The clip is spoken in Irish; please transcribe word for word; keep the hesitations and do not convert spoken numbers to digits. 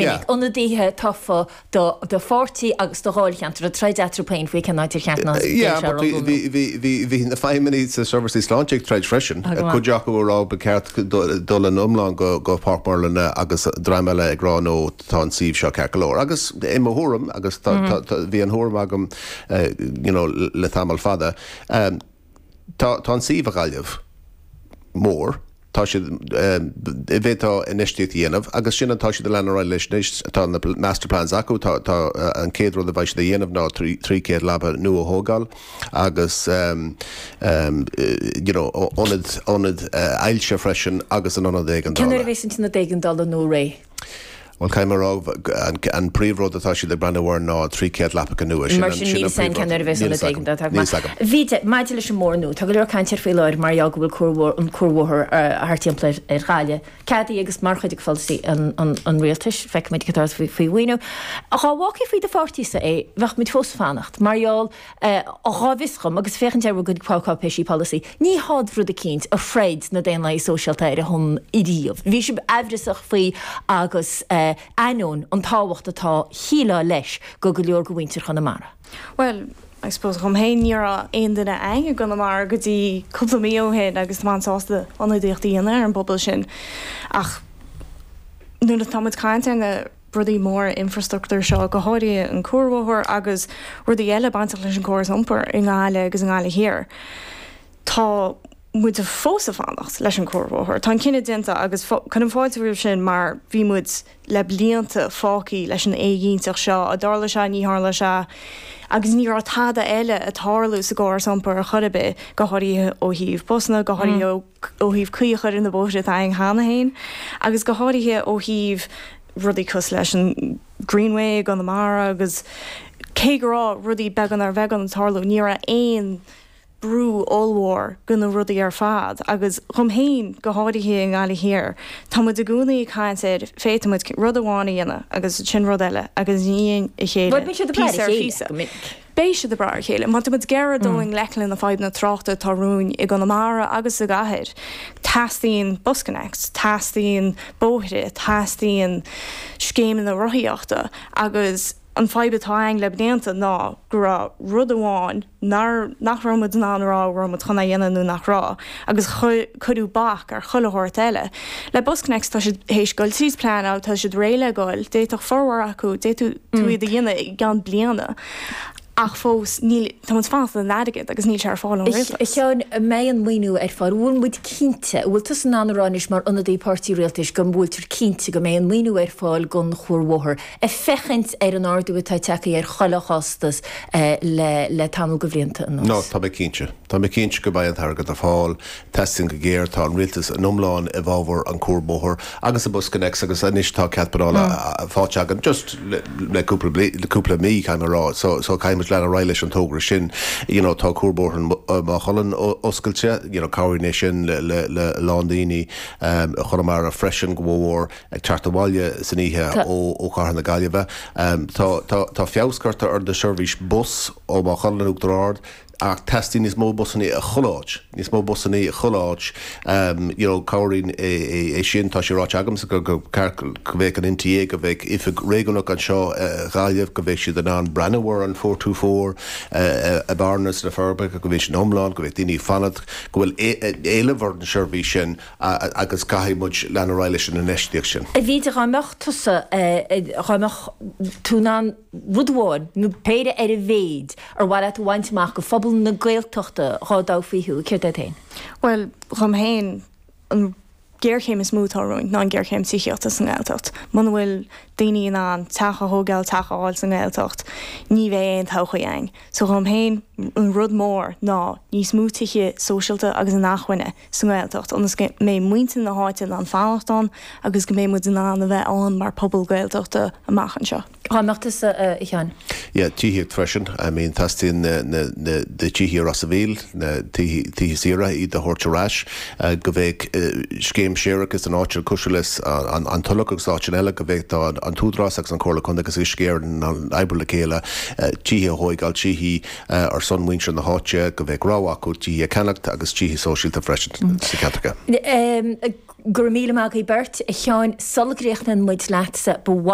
minic, ionadaithe tofa do do pháirtí agus do dháilcheantar ag troid eatarthu féin faoi cén áit ar cheart ná Yeah, but bhí bhí bhí bhí bhí na feidhmeannaigh sa seirbhísí sláinte ag troid freisin. Ah, go maith. Cuid acu ag rá ba cheart dul in iomlán go go Páirc Murlainne agus dream eile ag rá no tá an suíomh seo ceart go leor. Agus i mo thuairim agus tá tá tá bhí an thuairim agam uh, you know, le tamall fada, um, tá tá an suíomh i Gaillimh mór, tá siad bhéá infheistíocht a dhéanamh agus sin atá siad lean leis anois tá na master plans acu tá tá an chéad rud a bheidh siad a dhéanamh ná trí chéad leaba nua a thógáil agus um, um, you know, ionad ionad uh, ailse freisin agus an ionad Cén éigeandála. a bheas an t-ionad éigeandála nua réidh? Well caithfidh mé rá an, an príomhrud atá siad ag breathnú air ná trí chéad leapacha nua. Mar sin níl san cén a bheas an éigeandála. Bhí maidir leis an mbóthar nua, tá go leor cainte faoi láthair mar go bhfuil cuarbhóthar an cuarbhóthar thart timpeall ar Ghaillimh. Ceadaithe agus mar chuid de pholasaí an, an, an rialtais feicfimid cad faoi faoi mhaoiniú. Dá bhfágfaí faoi do pháirtísa é bheadh muid fós fanacht, mar gheall dhá bhfios agus féachaint ar go cáipéisí polasaí. Ní hád rud eicínt a throid na Daonlathaithe Sóisialta ar a shon riamh. Bhí sibh aimhreasach faoi agus uh, ainneoin an tábhacht atá shíleá leis go go leor go mhuintir Chonamara. Well, I suppose dhom féin ní raibh aon duine ann i gConamara go dtí cúpla mí ó shin agus tá sásta ionadaíocht a dhéanamh ar an bpobal sin. Ach nuair atá muid caint ar na rudaí mór infrastruchtúr seo go háirithe an cuarbhóthar agus rudaí eile bainteach leis an gcóras iompair i nGaillimh agus i nGaillimh Thiar. Tá muid fós ag fanacht leis an cuarbhóthar. Tá an cinneadh déanta agus cuirim fáilte roimh sin mar bhí muid le blianta fágtha leis an éiginnteacht seo a dtarla sé ní tharla sé agus ní raibh tada eile ag tarlú sa gcóras iompair a chor ar bith go háirithe ó thaobh busanna go háirithe mm. ó thaobh caoi a chur ar na bóithre atá ann cheana féin agus go háirithe ó thaobh rudaí cosúil leis an Greenway Conamara agus cé go raibh rudaí beagán ar bheagán ag tarlú ní raibh aon brú ollmhór go na rudaí ar fad agus dhom féin go háirithe i nGaillimh Thiar. Tá muid i gcónaí ag caint ar féadfaidh muid rud amháin a dhéanamh agus sin rud eile agus ní a chéile. Beidh siad ag brath ar a chéile, má tá muid géar dóing lecle na fadhbanna tráchta atá romhainn i gConamara agus sa gcathair. Teastaíonn BusConnects, teastaíonn bóithre, teastaíonn scéimeanna rothaíochta agus an fadhb atá ann le blianta ná go raibh rud amháin nach nach raibh muid in ann rá raibh muid chun é a dhéanamh nó nach raibh agus cuireadh bac ar chuile shórt eile. Le BusConnects tá siad théis dul tríd pleanáil tá siad réidh le goil, d'fhéadfadh formhór acu d'fhéadfadh tú iad a dhéanamh i gceann bliana. Ach fós níl tá fanacht an airgead agus níl sé ar fáil ón rialtas. Sheáin mbeidh an maoiniú ar fáil, bhfuil muid cinnte, bhfuil tú in ann a rá anois mar ionadaí páirtí rialtais go bhfuiltear cinnte go mbeidh an maoiniú ar fáil don chuarbhóthar, ag féachaint ar an ardú atá tagtha ar chuile chostas le le tamall de bhlianta anuas. No, tá mé cinnte. Tá mé cinnte go mbeidh an t-airgead ar fáil, teastaíonn go géar tá an rialtas an iomlán i bhfabhar an cuarbhóthar agus an BusConnects agus anois tá cead pleanála faighte againn just le le cúpla le cúpla mí caithfidh mé rá so so caithfidh muid lean ar aghaidh leis an togra sin you know tá cuarbhóthar Maigh Cuilinn oscailte you know cabhraíonn é sin le le le lán daoine um, Chonamara freisin go mhór ag teacht abhaile san oíche ó ó Chathair na Gaillimhe. Um, tá tá tá feabhas curtha ar na seirbhís bus ó Maigh Cuilinn Uachtar Ard ach teastaíonn níos mó busanna i chuile áit, níos mó busanna i chuile áit um, you know, cabhraíonn é, é, é sin tá sé ráite agamsa go go go bheadh an NTA go bheadh oifig réigiúnach anseo uh, Gaillimh go bheadh siad in ann breathnú ar an four two four uh, a Bearna na Forbacha go bhfuil sin iomlán go bheadh daoine fanacht go bhfuil éileamh ar an seirbhís sin agus caithfidh muid lean ar aghaidh leis an infheistíocht sin. A bhí dá mbeadh tusa dá mbeadh tú in ann rud amháin nó péire ar a mhéad ar mhaith leat a bhaint amach go phobal na Gaeltachta dhá dtoghfaí thú céard é féin? Well dhom féin an géarchéim is mó atá romhainn ná an géarchéim tithíochta sa nGaeltacht. Muna bhfuil daoine in ann teach a thógáil teach a fháil sa nGaeltacht, ní bheidh aon todhchaí ann. So dhom féin an rud mór ná níos mó tithe sóisialta agus inacmhainne sa nGaeltacht, ionas go mbeidh muintir na háite in ann fanacht ann agus go mbeidh muid in ann a bheith ann mar pobal Gaeltachta amach anseo. Dá mbeadh tusa a Sheáin. Yeah, tithíocht freisin. I mean teastaíonn na na na na tithe Ros an Mhíl, na tithe tithe saoire iad a thabhairt ar ais, go bheadh scéim séarachais san áit cosúil leis an an Tulach agus áiteanna eile go bheadh tá an tÚdarás agus an Comhairle Contae agus Uisce Éireann in oibriú le chéile tithe a thógáil tithe ar son muintir na háite go bheadh rogha acu tithe a cheannacht agus tithe sóisialta freisin sa cheantar. Go raibh míle maith agaibh beirt. A Sheáin, sula gcríochnaíonn muid leatsa, ba mhaith